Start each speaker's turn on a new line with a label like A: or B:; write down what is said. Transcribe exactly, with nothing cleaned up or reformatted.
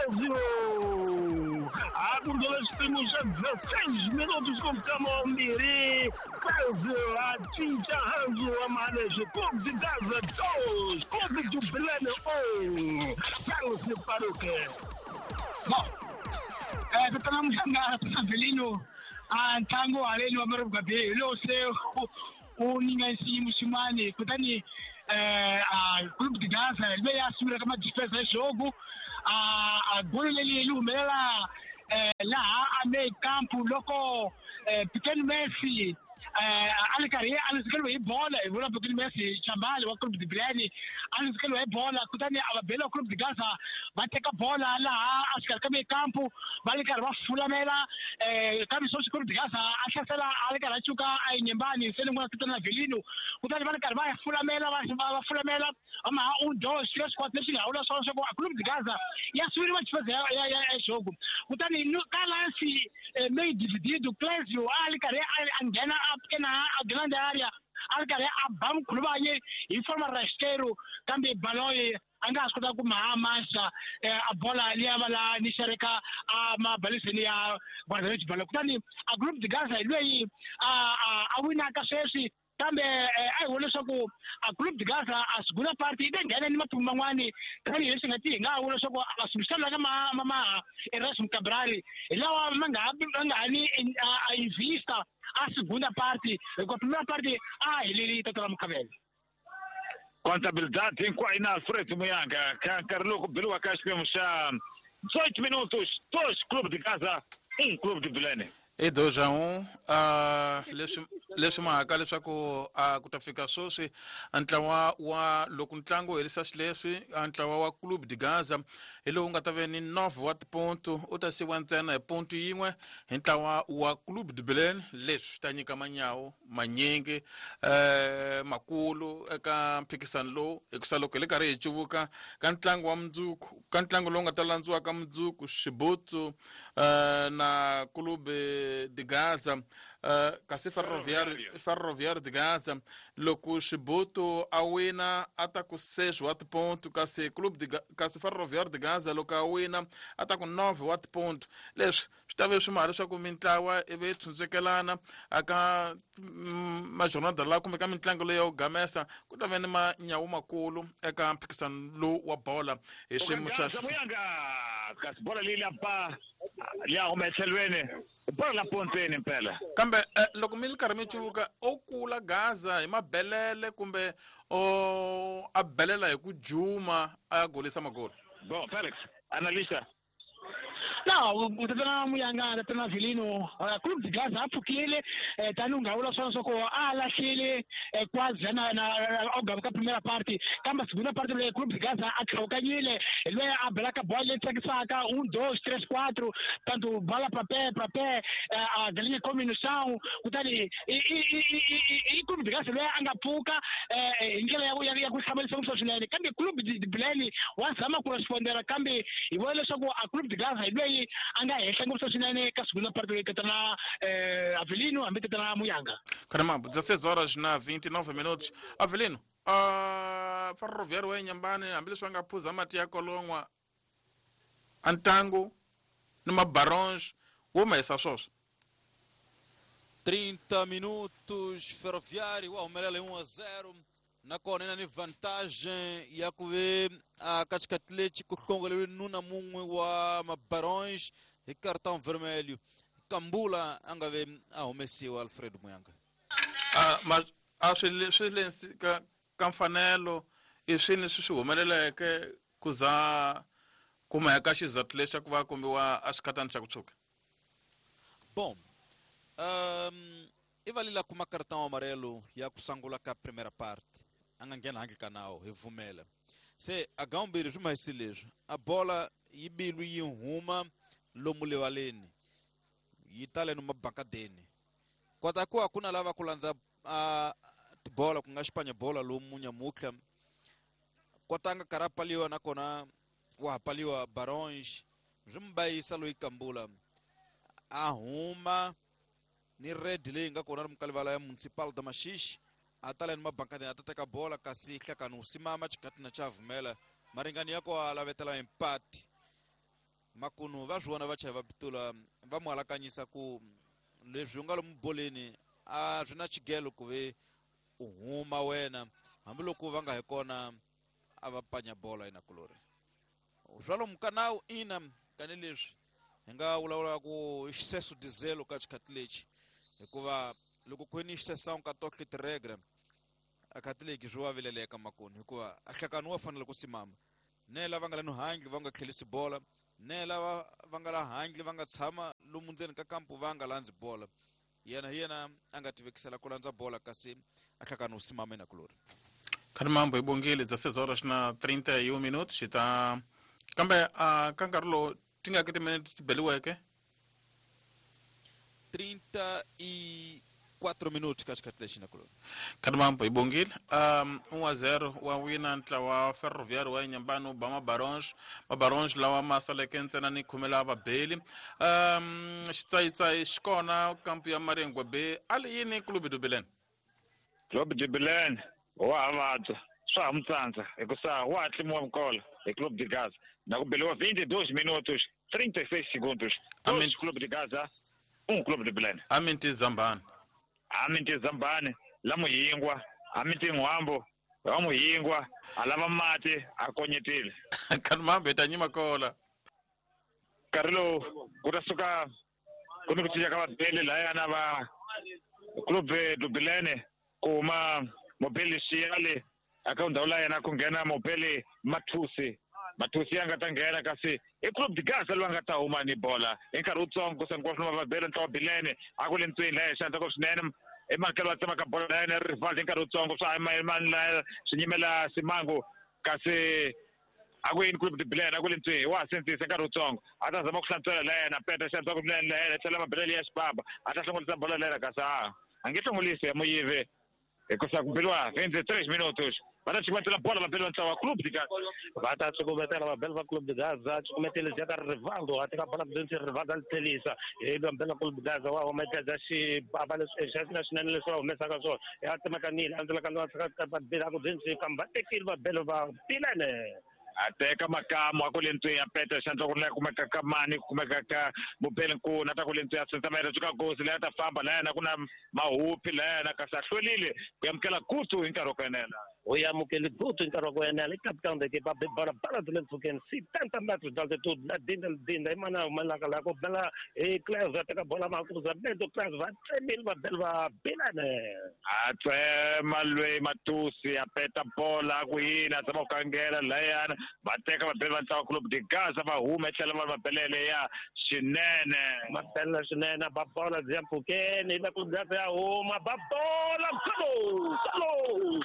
A: Clésio! A xipimo xa dezesseis minutos com Camambiri. Clésio a cinca hanzu wa maleshe. Clube de Gaza dois, Clube de Bilene um. Carlos Paruque.
B: Bom, é, tatana Muyanga, Avelino, a ntlangu haleni wa Marubuga Bay lowu se u ninga xiyimo xin'wani kutani eh a Clube de Gaza leyi a sungulaka ma-defense ya jogo a a golo leri ri humelela eh laha a meio campo loko Pequeno Messi a ri karhi a luzekeriwe hi bola hi vula Pequeno Messi Chambali wa Clube de Bilene a luzekeriwe hi bola kutani a va bela Clube de Gaza va teka bola laha a xikarhi ka meio campo va ri karhi va fulamela eh kambe sweswi Clube de Gaza a hlasela a ri karhi a cuka a yinyembani se ni tatana Avelino kutani va ri karhi va fulamela va fulamela ama um dois três quatro leswi nga vula swona swa ku a Clube de Gaza ya siveriwa defesa ya ya ya jogo kutani ka lance meio dividido Clésio a ri karhi a nghena a pequena a grande área a ri karhi a ba mkhuluvanye hi forma rasteiro kambe baloyi a nga ha swi kota ku maha manxa a bola liya va la ni xereka a mabaliseni ya guarda-redes balo kutani a Clube de Gaza hi lweyi a a winaka sweswi kambe a hi vona leswaku a Clube de Gaza a segunda parte yi ta nghena ni maphumu man'wani tanihileswi nga ti hi nga vula leswaku a swimiselo ka ma ma maha Erasmo Cabral hi lawa ma nga ha ma nga ha ni a invista a segunda parte hikuva primera parte a heleli tatana Mukhavela.
C: Contabilidade hinkwayo na Alfredo Muyanga ka nkarhi lowu ku beriwa ka xiphemu xa dezoito minutos, dois Clube de Gaza, um Clube de Bilene.
D: I dois a um, uh, leswi leswi mahaka leswaku uh, ku ta fika sweswi ntlawa wa loko ntlangu wu herisa xileswi ntlawa wa Clube de Gaza hi lowu nga ta ve ni nove wa tiponto u ta siwa ntsena hi ponto yin'we hi ntlawa wa Clube de Bilene. Leswi swi ta nyika manyawu manyingi eh, makulu eka mphikisano lowu hikusa loko hi le karhi hi cuvuka ka ntlangu wa mundzuku ka ntlangu lowu nga ta landziwa ka mundzuku Xibutsu eh, na Clube de Gaza uh, kasi Ferroviário Ferroviário de Gaza loko Xibutu a wina a ta ku seis wa tiponto kasi Clube de kasi Ferroviário de Gaza loko a wina a ta ku nove wa tiponto. Leswi swi ta ve swi maha leswaku mintlawa ivi yi tshunxekelana aka majornada lawa kumbe ka mitlangu leyi ya ku gamesa ku ta ve ni manyawu makulu eka mphikisano lowu wa bola hi xiyimo xa
C: kasi bola leyi la ba ya huma etlhelweni bola la pontweni mpela
D: kambe eh, loko mi ri karhi mi cuvuka o kula Gaza hi mabelele kumbe o a belela hi ku juma a ya golisa magolo.
C: Bon Felix analisa
B: No, tatana Muyanga tatana Avelino Clube de Gaza a pfukile tani u nga vula swona swa ku a lahlile quase na na o ka primera parte kambe segunda parte leyi Clube de Gaza a tlhawukanyile hi loyi a belaka bola leyi tsakisaka um dois três quatro tanto bala pra pé pra pé a galinha come no chão kutani i Clube de Gaza loyi a nga pfuka hi ndlela ya ya ku hlamarisa ngopfu swinene kambe Clube de Bilene wa zama ku respondera kambe hi vona leswaku a Clube de Gaza hi loyi a nga henhla ngopfu swinene ka segunda parte leyi tatana Avelino hambi tatana Muyanga.
D: Caramba, dezesseis horas na vinte e nove minutos. Avelino, uh, Ferroviário wa Inhambane hambileswi va nga phuza mati ya kolon'wa a ntangu ni mabaronge wo mahisa swoswo.
E: trinta minutos, Ferroviário wa humelela hi um a zero nakona ina ni vantagem ya ku ve a ka xikhathi lexi ku hlongoleriwe nuna mun'we wa mabarões hi cartão vermelho. Kambula a nga ve a humesiwa Alfredo Muyanga.
D: A ma a swi swi le ka ka mfanelo i swini leswi swi humeleleke ku za kuma ka xizathu lexi ku va kombiwa a xikhatani xa ku tshuka.
E: Bom, um, i valila kuma cartão amarelo ya ku sungula ka primeira parte. A nga nghena handle ka nawu hi vumela. Se a gambiri swi mahisi leswi a bola yi bilwi yi huma lomu livaleni yi tale no mabakadeni kota ku a ku na lava ku landza a tibola ku nga xipanya bola lomu nyamutlha kotanga karhi a paliwa nakona wa ha paliwa Barões swi mu bayisa loyi Kambula a huma ni red leyi nga kona ri mukalivala ya Municipal da Maxixe a tala ni mabankadeni a ta teka bola kasi hlekani wu simama xikhathi na xa vumela maringani ya ko a lavetela empate Makunu va swi vona vachayi va pitula va mu alakanyisa ku leswi u nga lomu boleni a swi na xigelo ku ve u huma wena hambiloko va nga hi kona a va panya bola inakulori swa lomu ka nawu ina tanihileswi hi nga vulavula ku excesso de zelo ka xikhathi lexi hikuva loko ku ni exceção ka tohle tiregra a khathi leki swi wa vileleka makoni hikuva a hlakani wa fanele ku simama ne lava nga la no handle va nga tlhelisi bola ne lava va nga la handle va nga tshama lomu ndzeni ka kampu va nga landzi bola yena hi yena a nga tivekisela ku landza bola kasi a hlakani u simama inakulori.
D: Khani mambo hi bongile dezesseis horas na trinta e um minutos xi ta kambe a ka nkarhi lowu ti nga ki timinete ti beliweke
E: trinta e quatro minutos ka xikhathi lexi nakulori.
D: Khani mambo hi bongile um um a zero wa wina ntlawa Ferroviário wa Inhambane u ba Mabarons Mabarons lawa ma saleke ntsena ni khume la vabeli um xitsayitsayi xi kona kampu ya Maringwe B a li yini Clube do Belém.
C: Clube de Belém wa ha vabya swa ha mu tsandza hikusa wa ha tlimiwa mukolo hi Clube de Gaza na ku beliwa vinte e dois minutos trinta e seis segundos. Dois Clube de Gaza, um Clube de Belém.
D: Aminti Zambani.
C: Aminti Zambani la Muyingwa, aminti N'wambo wa Muyingwa a lava mati a konyetile.
D: Khani mambo hi ta nyima kola.
C: Nkarhi lowu ku ta suka ku ni ku cinca ka vabeli layana va Clube do Belém ku huma Mobeli Xiyali aka ndhawu la yena ku nghena Mobeli Mathusi. Mathusi ya nga ta nghena kasi i Clube de Gaza loyi a nga ta huma ni bola hi nkarhi wutsongo ku sani ku va vabeli ntlawa Bilene a ku le ntsweni laha xandla ko swinene i makelo wa tsemaka bola la yena Rivaldo hi nkarhi wutsongo swa mani la swi nyimela Simango kasi a ku yini Clube de Belém a ku le ntsweni wa ha sindzisa nkarhi wutsongo a ta zama ku hlantswela la yena peta xandla ku swinene la yena tlhela mabelele ya xibaba a ta hlongolisa bola la yena kasi a a nge hlongolisi ya muyivi hikusa ku beliwa vinte e três minutos va ta cukumetela bola va beliwa ntlawa Clube de Gaza.
A: Va ta cukumetela vabeli va Clube de Gaza cukumetele ka Rivaldo a teka bola kudonsi Rivaldo a li tlhelisa hi vabeli va Clube de Gaza wa humetedza xibaba leswi xa swinene leswi va humesaka swona ya tsemekanile a ndzela ka vabeli a ku dzinsi kambe va tekile vabeli va Bilene.
C: A teka makamu a ku le ntsweni ya peta xandla ku ri kumeka ka mani kumeka ka Mobeli Nkuna a ta ku le ntsweni ya sentsamela tshuka gosi leyi a ta famba la yena ku na mahupi la yena kasi a hlwerile ku amukela gutu hi nkarhi wa ku enela.
A: U amukele gutu hi nkarhi wa ku enela i capitão da equipe a bola bala byi le mpfhukeni setenta metros d'altitude na dinda dinda i mana humelelaka laha ku bela hi Cleve a teka bola ma cruzamento Cleve va tsemile vabeli va Bilene.
C: A tsema lweyi Matusi a peta bola a ku yini a zama ku kangela layana va teka vabeli va ntlawa Clube de Gaza va huma tlhela va vabelele ya xinene.
A: Va belela swinene ba bola byi ya mpfhukeni la Clube de Gaza ya huma ba bola golo golo.